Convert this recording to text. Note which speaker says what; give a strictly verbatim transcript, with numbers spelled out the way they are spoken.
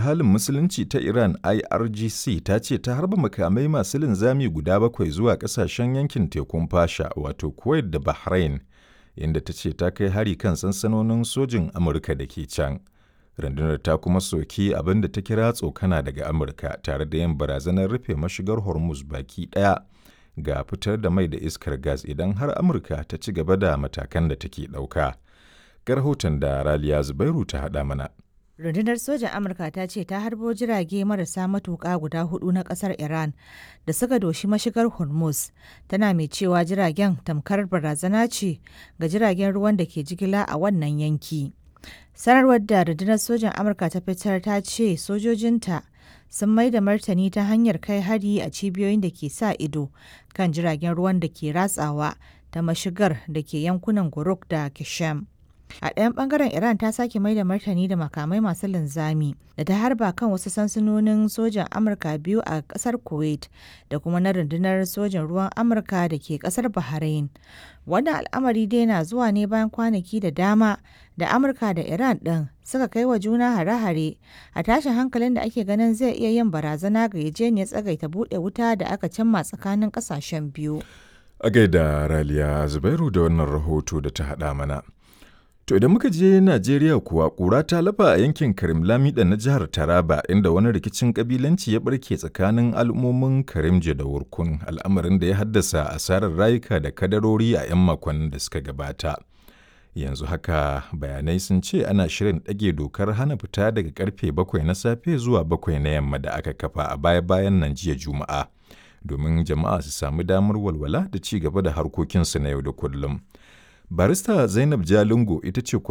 Speaker 1: Halin Musulunci ta Iran I R G C ta ce ta harba makamai masu linzami guda bakwai zuwa ƙasashen yankin tekun Fasha, wato Kuwait da Bahrain, inda ta ce ta kai hari kan sansanonin sojin Amurka da ke can. Rundunar ta kuma soki abin da ta kira tsokana daga Amurka tare da yin barazanar rufe mashigar Hormuz baki ɗaya ga fitar da mai da iskar gas idan har Amurka ta ci gaba da matakan da take ɗauka. Ga rahoton da Raliya Zubairu ta haɗa mana.
Speaker 2: Rundunar sojan Amurka ta ce ta harbo jirage marasa matuƙa guda hudu na ƙasar Iran da suka doshi mashigar Hormuz, tana mai cewa jiragen tamkar barazana ce ga jiragen ruwan da ke jigila a wannan yanki. Sanarwar da rundunar sojan Amurka ta fitar ta ce sojojinta sun mai da martani ta hanyar kai hari a cibiyoyin da ke sa ido kan jiragen ruwan da ke ratsawa ta mashigar da ke yankunan Guruk da Kishem. A ɗayan ɓangaren, Iran ta sake mai da martani da makamai masu linzami da ta harba kan wasu sansanonin sojan Amurka biyu a ƙasar Kuwait da kuma na rundunar sojan ruwan Amurka da ke ƙasar Bahrain. Wannan al'amari dai na zuwa ne bayan kwanaki da dama da Amurka da Iran ɗin suka kai wa juna hare-hare a tashin hankalin da ake ganin zai iya yin barazana ga yarjejeniyar tsagaita buɗe wuta da aka cimma tsakanin ƙasashen biyu.
Speaker 1: A gaida Raliya Zubairu da wannan rahoto da ta haɗa mana. To idan muka je Najeriya kuwa, ƙura ta lafa a yankin Karim Lamida na jihar Taraba, inda wani rikicin ƙabilanci ya barke tsakanin al'ummomin Karimje da Wurkun, al'amarin da ya haddasa asarar rayuka da kadarori a 'yan makonnin da suka gabata. Yanzu haka bayanai sun ce ana shirin ɗage dokar hana fita daga karfe bakwai na safe zuwa bakwai na yamma da aka kafa a baya-bayan nan jiya Juma'a, domin jama'a su samu damar walwala da ci gaba da harkokinsu na yau da kullum. Barista Zainab Jalingo ita ce